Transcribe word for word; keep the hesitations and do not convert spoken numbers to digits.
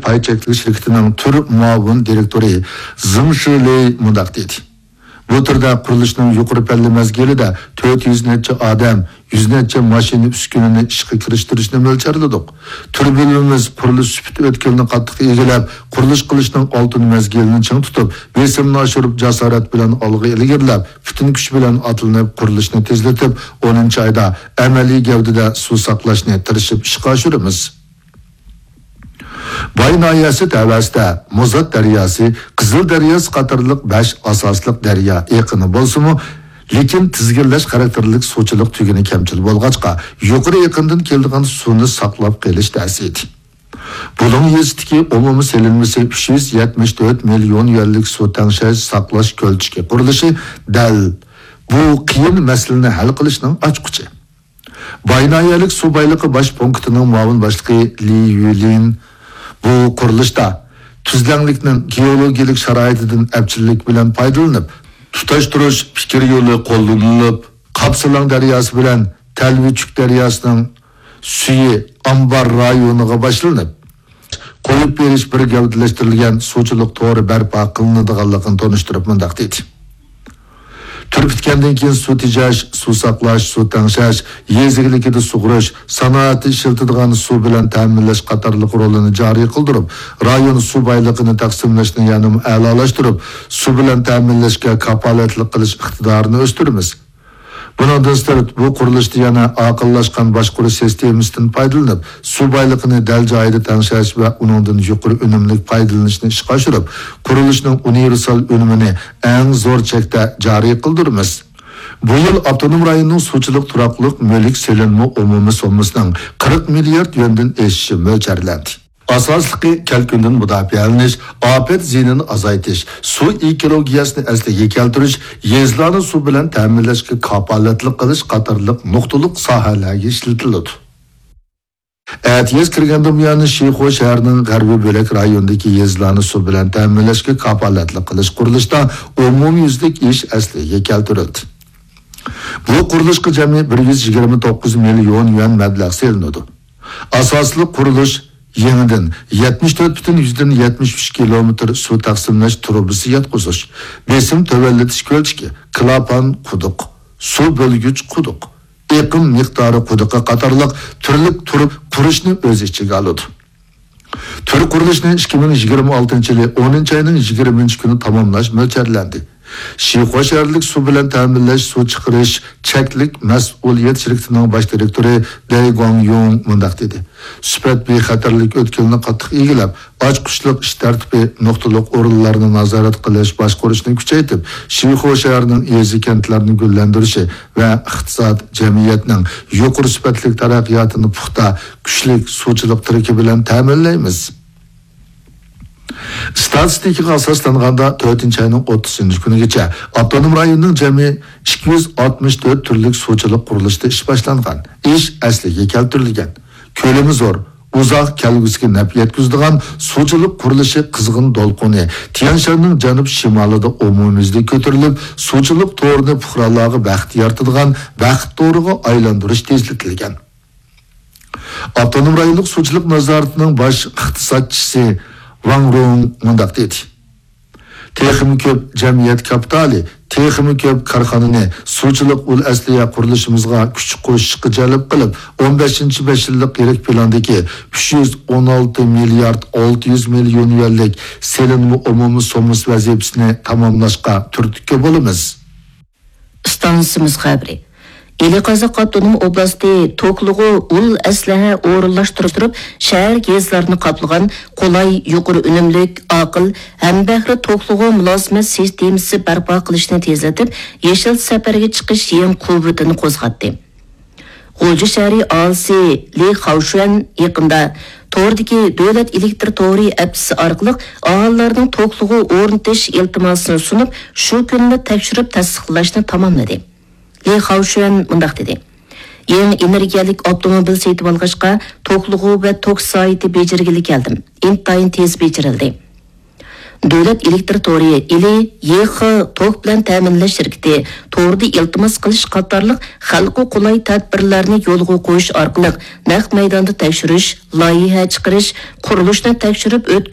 پاي چەكلىك شىركىتىنىڭ تۈر مۇئاۋىن دىرېكتورى زېڭ شىلېي مۇنداق دېدى: بۇ تۈردە قۇرۇلۇشنىڭ يۇقىرى پەللە مەزگىلىدە تۆت يۈز نەچچە ئادەم، يۈز نەچچە ماشىنا ئۈسكۈنىنى ئىشقا كىرىشتۈرۈشنى مۆلچەرلىدۇق. تۈر بۆلۈمىمىز قۇرۇلۇش سۈپىتى ئۆتكىلىنى قاتتىق ئىگىلەپ، قۇرۇلۇش قىلىشنىڭ ئالتۇن مەزگىلىنى چىڭ تۇتۇپ، بېسىمنى ئاشۇرۇپ، جاسارەت بىلەن ئالغا ئىلگىرىلەپ، پۈتۈن كۈچ بىلەن ئاتلىنىپ، قۇرۇلۇشنى تېزلىتىپ، ئونىنچى ئايدا ئەمەلىي گەۋدىدە سۇ ساقلاشنى تىرىشىپ ئىشقا ئاشۇرىمىز. باي ناھىيەسى تەۋەسىدە مۇزات دەرياسى، قىزىل دەرياسى قاتارلىق بەش ئاساسلىق دەريا ئېقىنى بولسىمۇ، لېكىن تىزگىنلەش خاراكتېرلىك سۇچىلىق تۈگۈنى كەمچىل بولغاچقا، يۇقىرى ئېقىندىن كېلىدىغان سۇنى ساقلاپ قېلىش تەس ئىدى. بۇلۇڭ يېزىسىدىكى ئومۇمىي سېلىنمىسى ئۈچ يۈز يەتمىش تۆت مىليون يۈەنلىك سۇ تەڭشەش ساقلاش كۆلچىكى قۇرۇلۇشى دەل بۇ قىيىن مەسىلىنى ھەل قىلىشنىڭ ئاچقۇچى. باي ناھىيەلىك سۇ بايلىقى باش پونكىتىنىڭ مۇئاۋىن باشلىقى لى يۈلىن بۇ قۇرۇلۇشتا تۈزلەڭلىكنىڭ گېئولوگىيەلىك شارائىتىدىن ئەپچىللىك بىلەن پايدىلىنىپ، تۇتاشتۇرۇش پىكىر يولى قوللىنىلىپ، قاپسىلاڭ دەرياسى بىلەن تەلۋىچۈك دەرياسىنىڭ سۈيى ئامبار رايونىغا باشلىنىپ، قويۇپ بېرىش بىر گەۋدىلەشتۈرۈلگەن سۇچىلىق تورى بەرپا قىلىنىدىغانلىقىنى تونۇشتۇرۇپ مۇنداق دېدى: تۈر پۈتكەندىن كېيىن سۇ تېجەش، سۇ ساقلاش، سۇ تەڭشەش، يېزا ئىگىلىكىدە سۇغىرىش، سانائەتتە ئىشلىتىدىغان سۇ بىلەن تەمىنلەش قاتارلىق رولىنى جارى قىلدۇرۇپ، رايون سۇ بايلىقىنى تەقسىملەشنى يەنىمۇ ئەلالاشتۇرۇپ، سۇ بىلەن تەمىنلەشكە كاپالەتلىك قىلىش ئىقتىدارىنى ئۆستۈرىمىز. بۇنىڭدىن سىرت، بۇ قۇرۇلۇشتا يەنە ئاقىللاشقان باشقۇرۇش سىستېمىسىدىن پايدىلىنىپ، سۇ بايلىقىنى دەل جايىدا تەڭشەش ۋە ئۇنىڭدىن يۇقىرى ئۈنۈملۈك پايدىلىنىشنى ئىشقا ئاشۇرۇپ، قۇرۇلۇشنىڭ ئۇنىۋېرسال ئۈنۈمىنى ئەڭ زور چەكتە جارى قىلدۇرىمىز. بۇ يىل ئاپتونوم رايوننىڭ سۇچىلىق تۇراقلىق مۈلۈك سېلىنما ئومۇمىي سوممىسىنىڭ قىرىق مىليارد يۈەندىن ئېشىشى مۆلچەرلەندى. ئاساسلىقى كەلكۈندىن مۇداپىئەلىنىش، ئاپەت زىيىنىنى ئازايتىش، سۇ ئېكولوگىيەسىنى ئەسلىگە كەلتۈرۈش، يېزىلارنى سۇ بىلەن تەمىنلەشكە كاپالەتلىك قىلىش قاتارلىق نۇقتىلىق ساھەلەرگە ئىشلىتىلىدۇ. ئەتىياز كىرگەندىن بۇيان، شىخۇ شەھىرىنىڭ غەربىي بۆلەك رايونىدىكى يېزىلارنى سۇ بىلەن تەمىنلەشكە كاپالەتلىك قىلىش قۇرۇلۇشىدا ئومۇميۈزلۈك ئىش ئەسلىگە كەلتۈرۈلدى. بۇ قۇرۇلۇشقا جەمئىي بىر يۈز يىگىرمە توققۇز مىليون يۈەن مەبلەغ سېلىنىدۇ. ئاساسلىق قۇرۇلۇش يېڭىدىن يەتمىش تۆت پۈتۈن يۈزدىن يەتمىش ئۈچ كىلومېتىر سۇ تەقسىملەش تۇرۇبىسى ياتقۇزۇش، بېسىم تۆۋەنلىتىش كۆلچىكى، كلاپان قۇدۇق، سۇ بۆلگۈچ قۇدۇق، ئېقىم مىقدارى قۇدۇقى قاتارلىق تۈرلۈك تۇرۇپ قۇرۇشنى ئۆز ئىچىگە ئالىدۇ. تۈر قۇرۇلۇشىنى ئىككى مىڭ يىگىرمە ئالتىنچى يىلى ئونىنچى ئاينىڭ يىگىرمىنچى كۈنى تاماملاش مۆلچەرلەندى. شىخۇا شەھەرلىك سۇ بىلەن تەمىنلەش، سۇ چىقىرىش چەكلىك مەسئۇلىيەت شىركىتىنىڭ باش دىرېكتورى دەي گۇاڭيۇڭ مۇنداق دېدى: سۈپەت بىخەتەرلىك ئۆتكىلىنى قاتتىق ئىگىلەپ، ئاچقۇچلۇق ئىش تەرتىپى، نۇقتىلىق ئورۇنلارنى نازارەت قىلىش، باشقۇرۇشنى كۈچەيتىپ، شىخۇا شەھىرىنىڭ يېزا، كەنتلەرنى گۈللەندۈرۈشى ۋە ئىقتىساد، جەمئىيەتنىڭ يۇقىرى سۈپەتلىك تەرەققىياتىنى پۇختا، كۈچلۈك سۇچىلىق تىرىكى بىلەن تەمىنلەيمىز. ئىستاتىستىكىغا ئاساسلانغاندا، تۆتىنچى ئاينىڭ ئوتتۇزىنچى كۈنىگىچە ئاپتونوم رايوننىڭ جەمئىي ئىككى يۈز ئاتمىش تۆت تۈرلۈك سۇچىلىق قۇرۇلۇشىدا ئىش باشلانغان، ئىش ئەسلىگە كەلتۈرۈلگەن، كۆلىمى زور، ئۇزاق كەلگۈسىگە نەپ يەتكۈزىدىغان سۇچىلىق قۇرۇلۇشى قىزغىن دولقۇنى تيەنشاننىڭ جەنۇب شىمالىدا ئومۇميۈزلۈك كۆتۈرۈلۈپ، سۇچىلىق تورىنى پۇقرالارغا بەخت يارىتىدىغان بەخت تورىغا ئايلاندۇرۇش تېزلىتىلگەن. ئاپتونوم رايونلۇق سۇچىلىق نازارىتىنىڭ باش ئىقتىسادچىسى ۋاڭ رۇڭ مۇنداق دېدى: تېخىمۇ كۆپ جەمئىيەت كاپىتالى، تېخىمۇ كۆپ كارخانىنى سۇچىلىق ئۇل ئەسلىھە قۇرۇلۇشىمىزغا كۈچ قوشۇشقا جەلپ قىلىپ، ئون بەشىنچى بەش يىللىق يىرىك پىلاندىكى ئۈچ يۈز ئون ئالتە مىليارد ئالتە يۈز مىليون يۈەنلىك سېلىنما ئومۇمىي سوممىسى ۋەزىپىسىنى تاماملاشقا تۈرتكە بولىمىز. ئىستانسىمىز خەۋىرى. ئىلى قازاق ئاپتونوم ئوبلاستى توكلۇغۇ ئۇل ئەسلىھە ئورۇنلاشتۇرۇپ، شەھەر، يېزىلارنى قاپلىغان قولاي، يۇقىرى ئۈنۈملۈك، ئاقىل، ھەمبەھرە توكلۇغۇ مۇلازىمەت سىستېمىسى بەرپا قىلىشنى تېزلىتىپ، يېشىل سەپەرگە چىقىش يېڭى قۇۋۋىتىنى قوزغاتتى. غۇلجا شەھىرى ئاھالىسى لى خاۋشۈەن يېقىندا توردىكى دۆلەت ئېلېكتر تورى ئەپسى ئارقىلىق ئاھالىلەرنىڭ توكلۇغۇ ئورنىتىش ئىلتىماسىنى سۇنۇپ، شۇ كۈنلا تەكشۈرۈپ تەستىقلاشنى تاماملىدى. لى خاۋشۈەن مۇنداق دېدى: يېڭى ئېنېرگىيەلىك ئاپتوموبىل سېتىۋالغاچقا، توكلۇغۇ ۋە توك سايتى بېجىرگىلى كەلدىم. ئىنتايىن تېز بېجىرىلدى. دۆلەت ئېلېكتر تورى، ئىلى، يېخ توك بىلەن تەمىنلەش شىركىتى، توردا ئىلتىماس قىلىش قاتارلىق خەلققە قولاي تەدبىرلەرنى يولغا قويۇش ئارقىلىق نەق مەيداندا تەكشۈرۈش، لايىھە چىقىرىش، قۇرۇلۇشنى تەكشۈرۈپ ئۆتكۈزۈش،